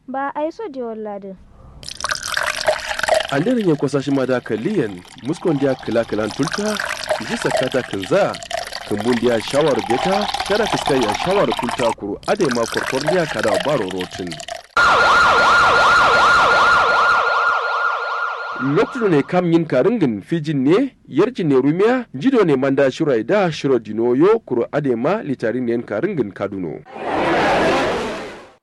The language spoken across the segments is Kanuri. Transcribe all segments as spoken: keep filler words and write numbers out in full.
Ba aiso diwon ladǝ. Anderin ye kwasashima da kalliyen. Muskon diya kǝla kǝlan tulta. Nji sakkata kǝnza. Kǝmbun diya shawar beta. Shara kǝskai ya shawar tulta kuru adai ma korkor diya kada baro rotin. Loktu done kam nyin karǝngǝn fijin ne yarjin ne rumiya nji done manda shiro aida shiro dino yo kuru adai ma litarin ne yin karǝngǝn kaduno.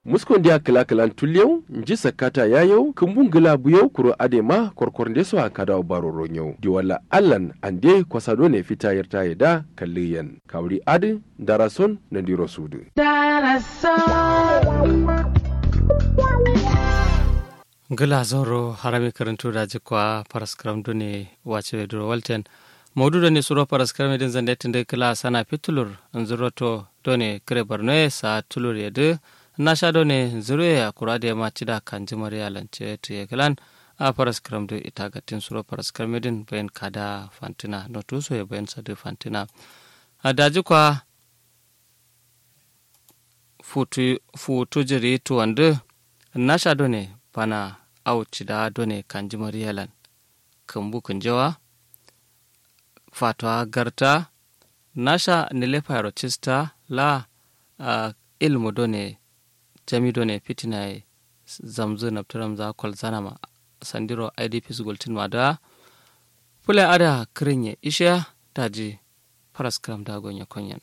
Muskon diya kǝla kǝlan tulliyau nji sakkata yayau kǝmbun gǝla buyau kuro adai ma korkor ndeso a kadawo baro ronyau diwalla allan ande kwasa done fita yarta ye da kalliyen kawuri adǝ ndarason nandiro sudǝ. Ngla zauro harami kǝrǝntu daji kwa faraskǝram done wace weduro walten. Maudu done suro faraskǝram yedǝ nzande tǝndǝ kǝla sana fitulur nzuro to done kǝre borno ye sa tulur yedǝ. Nasha done nzuro ye akura de ma cida kanji mariya lance tuye kǝlan. A faraskǝram dǝ ita gattin suro faraskǝram yedǝn bayin kada fantǝna notu so ye bayin sadǝ fantǝna. A daji kwa futu futu jiri tuwandǝ. Nasha done bana au cida done kanji mariya lan. Kǝmbu kǝnjewa. Fatuwa garta. Nasha nile fayaro cista la. Ilmu done jami done fitina ye zamzǝ nabtǝram za kwalzana ma. Sandiro idps gultin ma da. Fule ada kǝrin ye ishiya daji. Faraskǝram da gonye konyen.